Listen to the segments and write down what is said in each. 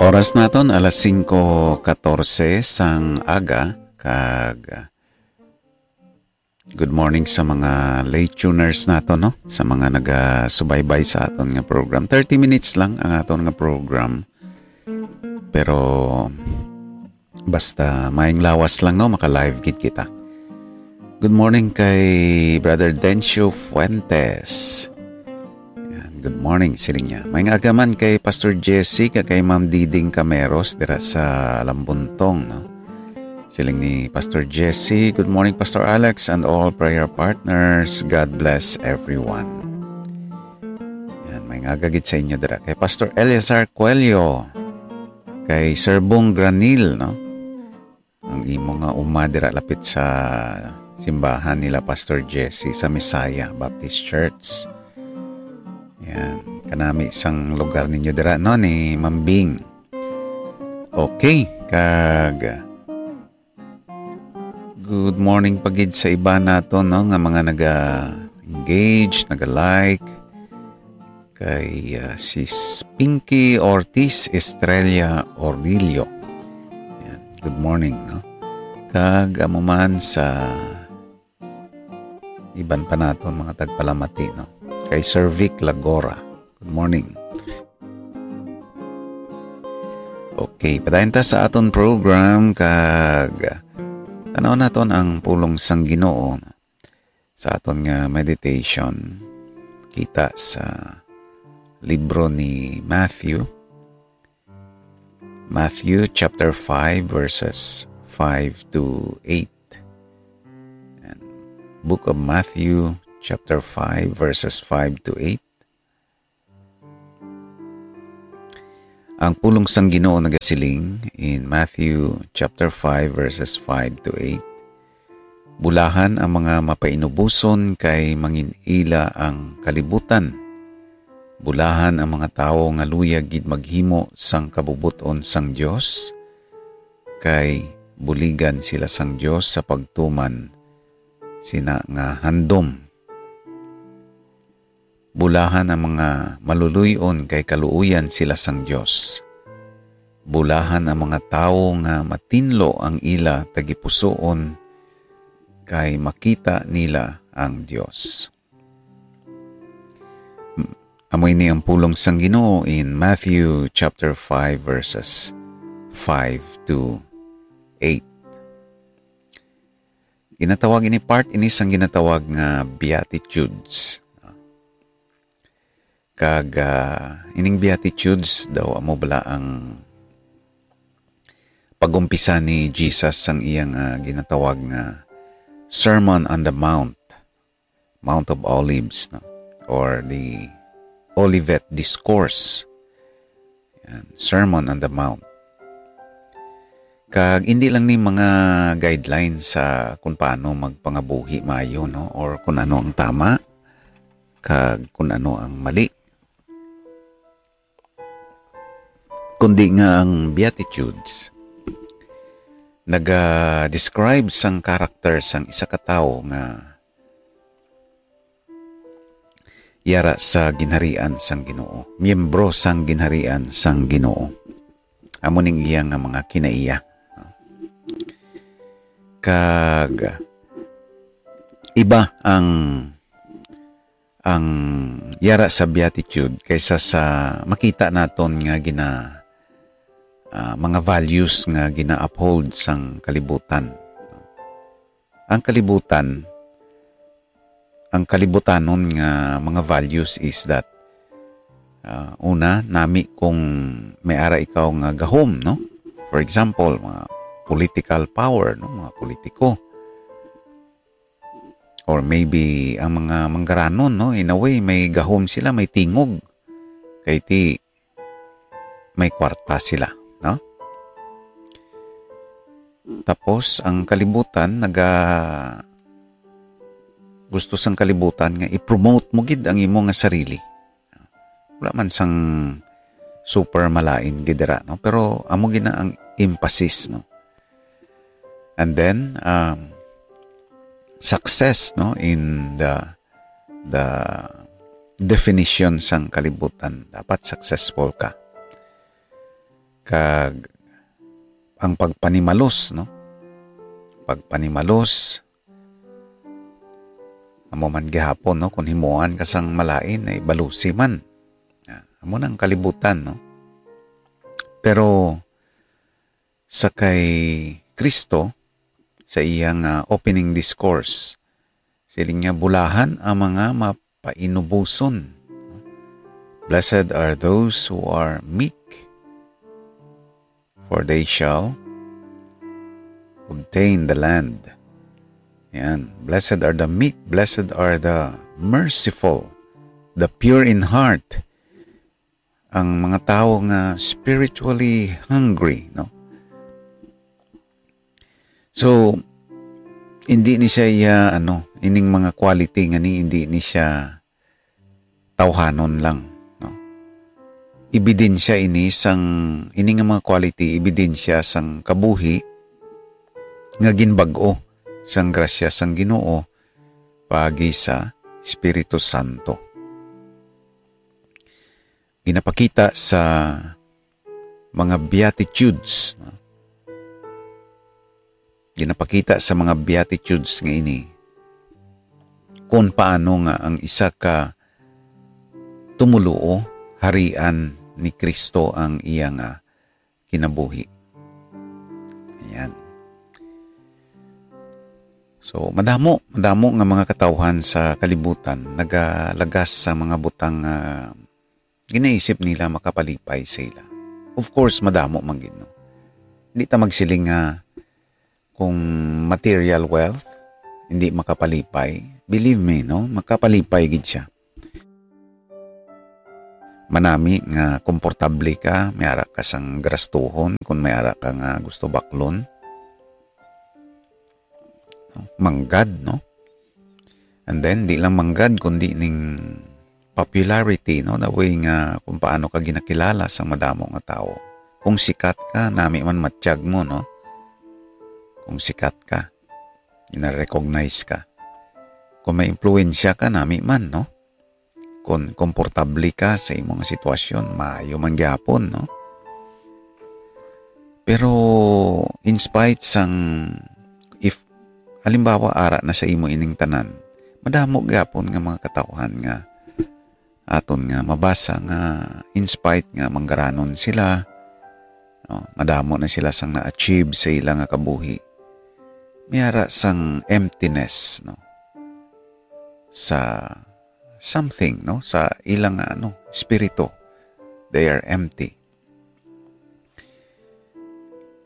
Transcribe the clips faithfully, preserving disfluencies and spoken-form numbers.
Oras naton alas singko katorse sang aga, kag good morning sa mga late tuners naton, no? Sa mga nagasubaybay sa aton nga program. Thirty minutes lang ang aton nga program. Pero basta maayong lawas lang, no? Maka-live gid kita. Good morning kay Brother Dencio Fuentes. Yan, good morning, siling niya. Maayong aga man kay Pastor Jesse, kag kay Ma'am Diding Cameros dira sa Lambuntong, no? Siling ni Pastor Jesse, "Good morning, Pastor Alex, and all prayer partners. God bless everyone." Yan, maayong aga gid sa inyo dira. Kay Pastor Eleazar Coelho, kay Sir Bong Granil, no? Ang imo nga uma dira lapit sa simbahan nila Pastor Jesse sa Messiah Baptist Church. Yan. Kanami sang lugar ninyo dira, no, ni Ma'am Bing. Okay, kag good morning pa gid sa iba nato, no, nga mga naga-engage, naga-like. Kay, ah, si S-, Pinky Ortiz Estrella Orillo. Yan. Good morning, no? Kag amo man sa iban pa naton mga tagpalamati, no? Kay Sir Vic Lagora. Good morning. Okay, padayon ta sa aton program, kag tanaw naton ang pulong sang Ginoo sa aton nga meditation. Kita sa libro ni Matthew, Matthew chapter five, verses five to eight. And Book of Matthew chapter five, verses five to eight. Ang pulong sang Ginoo nagasiling in Matthew chapter five, verses five to eight, "Bulahan ang mga mapainuboson, kay mangin-ila ang kalibutan. Bulahan ang mga tawo nga luyag gid maghimo sang kabubot-on sang Dios, kay buligan sila sang Dios sa pagtuman sina nga handom. Bulahan ang mga maluluy-on, kay kaluoyan sila sang Dios. Bulahan ang mga tawo nga matinlo ang ila tagipusoon, kay makita nila ang Dios." Amo ini ang pulong sang Ginoo in Matthew chapter five, verses five to eight. Ginatawag ini, part ini sang ginatawag nga Beatitudes. Kag, ah, ining Beatitudes daw amo bala ang pag-umpisa ni Jesus sang iyang, ah, ginatawag nga Sermon on the Mount, Mount of Olives, no? Or the Olivet Discourse. Yan, Sermon on the Mount. Kag hindi lang ni mga guidelines sa kung paano magpangabuhi maayo, no? Or kung ano ang tama, kag kung ano ang mali. Kundi nga ang Beatitudes naga-describe sang character sang isa ka tawo nga yara sa ginharian sang Ginoo, miyembro sang ginharian sang Ginoo. Amo ning iya nga mga kinaiya. Kag iba ang, ang yara sa Beatitude kaysa sa makita naton nga gina-, ah, mga values nga gina-uphold sang kalibutan. Ang kalibutan, ang kalibutanon nga mga values is that, ah, una, nami kung may ara ikaw nga gahom, no? For example, mga political power, no? Mga politiko. Or maybe ang mga manggaranon, no? In a way, may gahom sila, may tingog. Kay ti, may kwarta sila, no? Tapos, ang kalibutan, naga-, gusto sang kalibutan nga i-promote mo gid ang imo nga sarili. Wala man sang super malain gid dira, no? Pero amo gid na ang emphasis, no? And then, um, success, no, in the, the definition sang kalibutan. Dapat successful ka. Kag ang pagpanimalos, no? Pagpanimalos, amo man gihapon, no? Kung himuan ka sang malain, ay balusi man. Ah, amo nang kalibutan, no? Pero sa kay Kristo, sa iyang, ah, opening discourse, siling niya, "Bulahan ang mga mapainuboson." "Blessed are those who are meek, for they shall obtain the land." Yan. "Blessed are the meek, blessed are the merciful, the pure in heart." Ang mga tawo nga spiritually hungry, no? So, hindi ni siya iya, ano, ining mga quality nga ni, hindi ni siya tawhanon lang, no? Ebidensya ini sang, ini nga mga quality, ebidensya sang kabuhi nga ginbag-o sang grasya sang Ginoo paagi sa Espiritu Santo. Ginapakita sa mga Beatitudes, no? Ginapakita sa mga Beatitudes nga ini kung paano nga ang isa ka tumoluo, harian ni Kristo ang iya nga kinabuhi. Ayan. So, madamo, madamo nga mga katawhan sa kalibutan nagalagas sa mga butang nga ginaisip nila makapalipay sa ila. Of course, madamo man gid, no? Di ta magsiling nga kung material wealth hindi makapalipay. Believe me, no? Makapalipay gid siya. Manami nga komportable ka, may ara ka sang grastuhon, kung may ara ka nga gusto baklon. Manggad, no? And then, di lang manggad, kundi ning popularity, no? The way nga kung paano ka ginakilala sa madamo nga tawo. Kung sikat ka, nami man matiyag mo, no? Kung sikat ka, gina-recognize ka. Kung may impluwensya ka, nami man, no? Kung komportable ka sa imong sitwasyon, maayo man gyapon, no? Pero in spite sang, if, halimbawa, ara na sa imo ining tanan, madamo gyapon nga mga katawhan nga aton nga mabasa nga in spite nga manggaranon sila, no, madamo na sila sang na-achieve sa ila nga kabuhi, may ara sang emptiness, no, sa something, no, sa ilang, ano, espiritu. They are empty.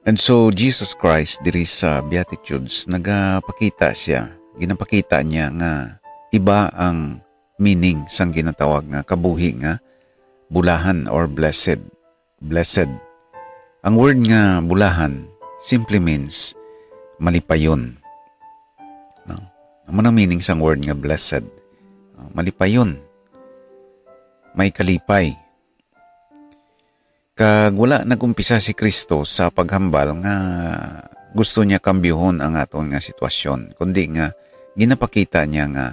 And so, Jesus Christ diri sa Beatitudes, nagapakita siya, ginapakita niya nga iba ang meaning sang ginatawag nga kabuhi nga bulahan or blessed. Blessed. Ang word nga bulahan simply means malipayon. No? Amo nang meaning sang word nga blessed. No? Malipayon. May kalipay. Kag wala nag-umpisa si Kristo sa paghambal nga gusto niya kambyohon ang aton nga sitwasyon, kundi nga ginapakita niya nga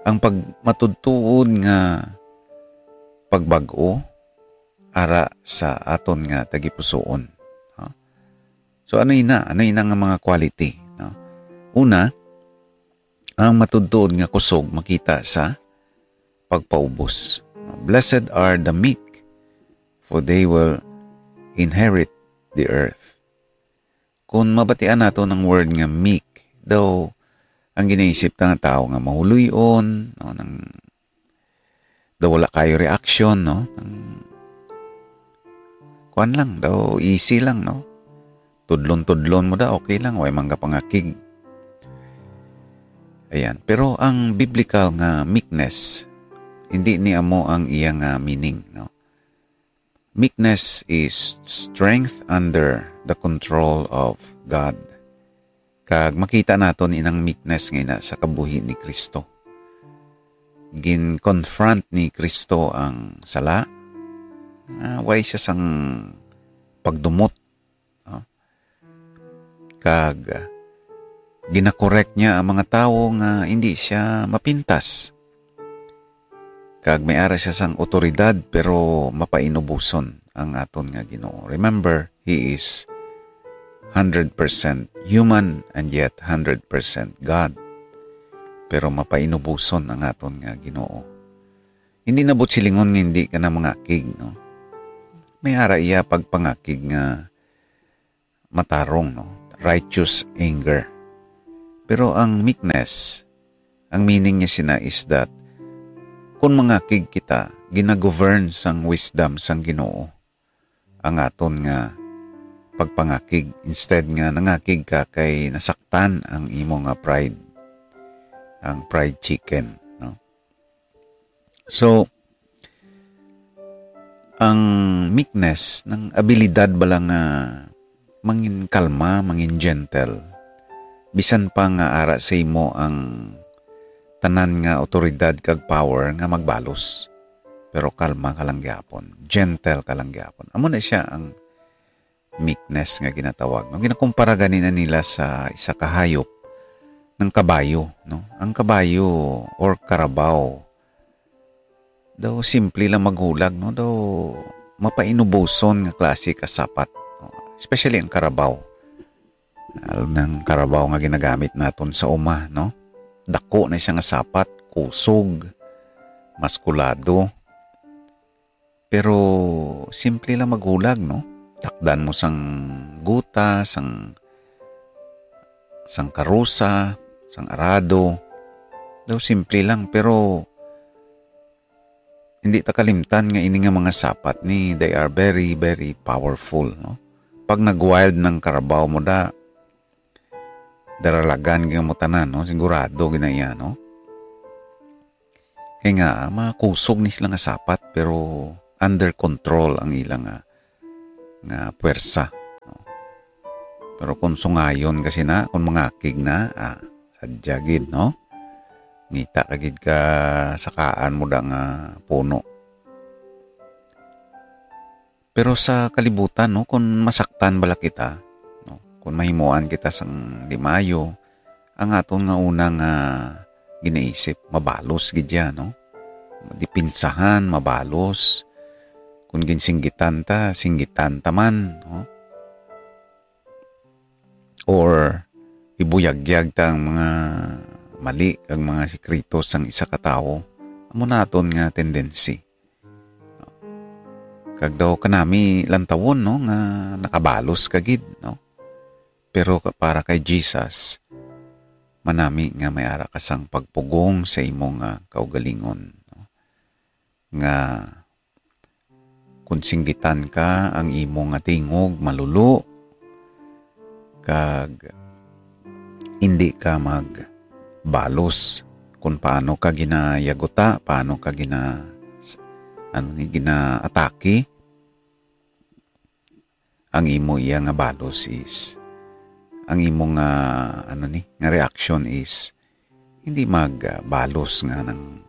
ang pagmatudtuod nga pagbag-o ara sa aton nga tagipusoon. No? So, ano ina? Ano ina nga mga quality? No? Una, ang matudtuod nga kusog makita sa pagpaubos. "Blessed are the meek, for they will inherit the earth." Kung mabatian nato ang word nga meek, daw ang ginaisip ta nga tawo nga mahuloy-on, no, nang daw wala kayo reaction, no? Nang, kuwan lang, daw easy lang, no? Tudlon-tudlon mo da, okay lang, way man ka pangakig. Ayan. Pero ang biblical nga meekness, hindi ni amo ang iya nga meaning, no? Meekness is strength under the control of God. Kag makita naton inang meekness nga ina sa kabuhi ni Kristo. Gin-confront ni Kristo ang sala, nga way siya sang pagdumot, no? Kag ginakorek niya ang mga tawo nga hindi siya mapintas. Kag may ara siya sang awtoridad, pero mapainuboson ang aton nga Ginoo. Remember, He is hundred percent human and yet hundred percent God. Pero mapainubuson ang aton nga Ginoo. Hindi na buot silingon nga hindi ka na mangakig, no? May ara iya pagpangakig nga matarong, no? Righteous anger. Pero ang meekness, ang meaning niya sina is that kung mangakig kita, ginagovern sang wisdom sang Ginoo ang aton nga pagpangakig, instead nga nangakig ka kay nasaktan ang imo nga pride, ang pride chicken, no? So, ang meekness, nang abilidad bala nga mangin kalma, mangin gentle, bisan pa nga ara sa imo ang tanan nga awtoridad kag power nga magbalos, pero kalma ka lang gyapon, gentle ka lang gyapon. Amo na siya ang meekness nga ginatawag, no? Ginakumpara gani na nila sa isa ka hayop, ng kabayo, no? Ang kabayo or karabaw, daw simple lang maghulag, no? Daw mapainubuson nga klase ka sapat, no? Especially ang karabaw. Lalo nang karabaw nga ginagamit naton sa uma, no? Dako na siya nga sapat, kusog, maskulado. Pero simple lang maghulag, no? Takdan mo sang guta, sang, sang karusa, sang arado. Daw simple lang, pero hindi ta kalimtan nga ini nga mga sapat ni, they are very, very powerful, no? Pag nag-wild ng karabaw mo da, daralagan gyud mo tanan, no? Sigurado gid na iya, no? Kay nga, makusog ni sila nga sapat, pero under control ang ila nga, nga puwersa, no? Pero kung sungayon kasi na, kung mangakig na, ah, sadya gid, no? Ngita ka gid ka sakaan mo da nga puno. Pero sa kalibutan, no, kung masaktan bala kita, no, kung mahimuan kita sang di maayo, ang aton nga una nga ginaisip, mabalos gid ya, no? Dipinsahan, mabalos. Kung ginsinggitan ta, singgitan ta man, no? Or ibuyagyag ta ang mga mali kag mga sikreto sang isa ka tawo, amo na aton nga tendency. Kag daw kanami lantawon, no, nga nakabalos ka gid, no? Pero ka-, para kay Jesus, manami nga may ara ka sang pagpugong sa imo nga kaugalingon, no? Nga kung singgitan ka, ang imo nga tingog malulo, kag indi ka magbalos kung paano ka ginayaguta, paano ka gina-, ano ni, ginaatake. Ang imo iya nga balos is, ang imo nga, ano ni, nga reaksyon is, hindi magbalos nga nang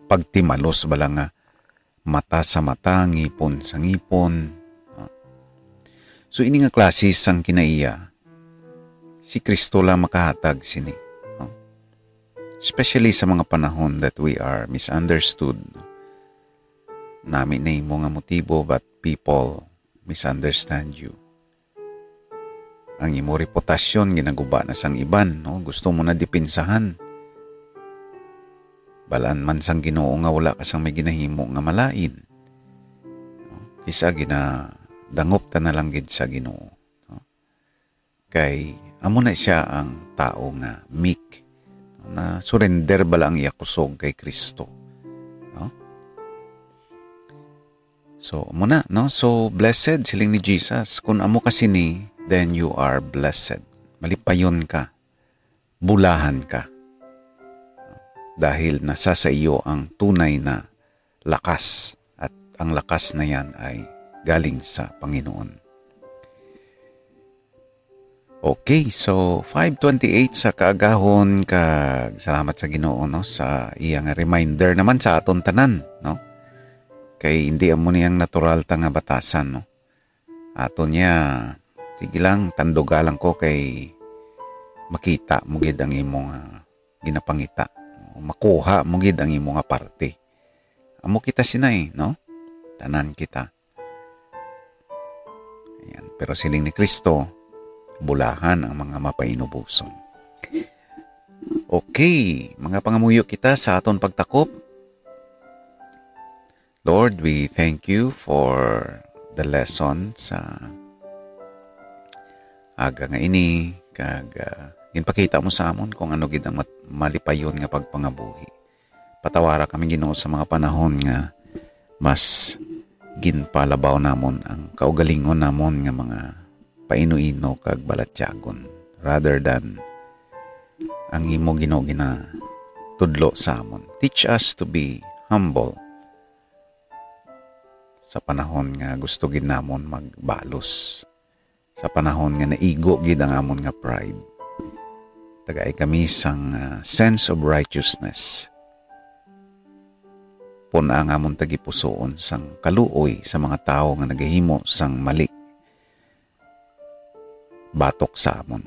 pagtimalos bala nga mata sa mata, ngipon sa ngipon. No? So, ini nga klase sang kinaiya, si Kristo lang makahatag sini. No? Especially sa mga panahon that we are misunderstood. No? Nami na imo nga motibo, but people misunderstand you. Ang imo reputasyon ginaguba na sang iban, no? Gusto mo na dipinsahan. Balaan man sang Ginoo nga wala ka sang may ginahimo nga malain. No? Kisa ginadangop ta na lang gid sa Ginoo. No? Kay amo na siya ang tao nga meek. Na surrender bala ang iya kusog kay Kristo. No? So, amo na, no? So, blessed, siling ni Jesus, "Kun amo ka sini, then you are blessed." Malipayon ka, bulahan ka. Dahil nasa sa iyo ang tunay na lakas, at ang lakas na yan ay galing sa Panginoon. Okay, so five twenty-eight sa kaagahon, kag salamat sa Ginoo, no, sa iya nga reminder naman sa aton tanan, no? Kay hindi amo ni ang natural ta nga batasan, no? Aton niya, sige lang, tanduga lang ko kay makita mo gid ang imo nga ginapangita. Makuha mo gid ang imo nga parte. Amo kita sinay, no? Tanan kita. Ayan. Pero siling ni Kristo, bulahan ang mga mapainuboson. Okay, mga pangamuyo kita sa aton pagtakop. Lord, we thank you for the lesson sa aga nga ini, kag, ah, ginpakita mo sa amon kung ano gid ang mat-, malipayon nga pagpangabuhi. Patawara kami, Ginoo, sa mga panahon nga mas ginpalabaw namon ang kaugalingon namon nga mga paino-ino kag balatyagon, rather than ang imo, Ginoo, ginatudlo sa amon. Teach us to be humble sa panahon nga gusto gid namon magbalos, sa panahon nga naigo gid ang amon nga pride. Tagai kami sang, ah, sense of righteousness. Pun-a ang amon tagipusoon sang kaluoy sa mga tawo nga nagahimo sang mali batok sa amon.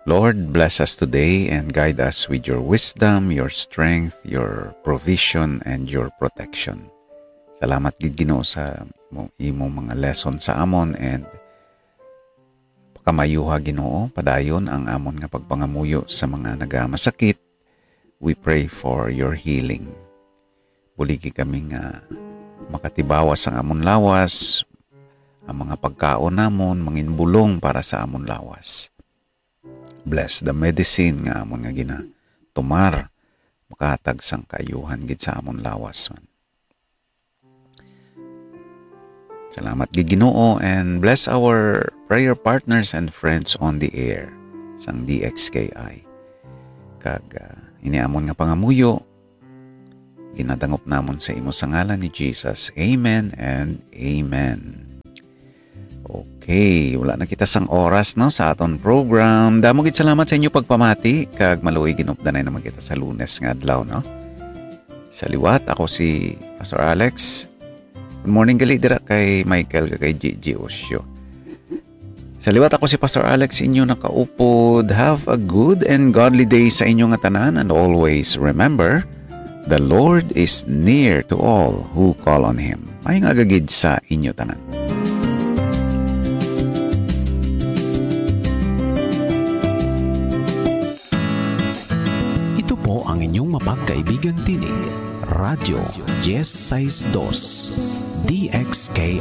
Lord, bless us today and guide us with your wisdom, your strength, your provision, and your protection. Salamat gid, Ginoo, sa imo, imo mga lesson sa amon, and pakamayuha, Ginoo, padayon ang amon nga pagpangamuyo sa mga nagamasakit. We pray for your healing. Buligi kami nga makatibawas ang amon lawas, ang mga pagkaon namon manginbulong para sa amon lawas. Bless the medicine nga amon nga ginatumar, makahatag sang kaayuhan gid sa amon lawas man. Salamat gid, Ginoo, and bless our prayer partners and friends on the air sang D X K I. Kag, ah, ini amon nga pangamuyo, ginadangop namon sa imo sa ngalan ni Jesus. Amen and amen. Okay, wala na kita sang oras, no, sa aton program. Damo gid salamat sa inyo pagpamati, kag maluoy ginupdanay naman kita sa Lunes nga adlaw, no. Sa liwat, ako si Pastor Alex. Good morning gali dira kay Michael kag kay Gigi Osio. Sa liwat, ako si Pastor Alex, inyo nakaupod. Have a good and godly day sa inyo nga tanan, and always remember, the Lord is near to all who call on Him. Maayong aga gid sa inyo tanan. Ito po ang inyong mapagkaibigang tinig, Radyo Diez Seis Dos, D X K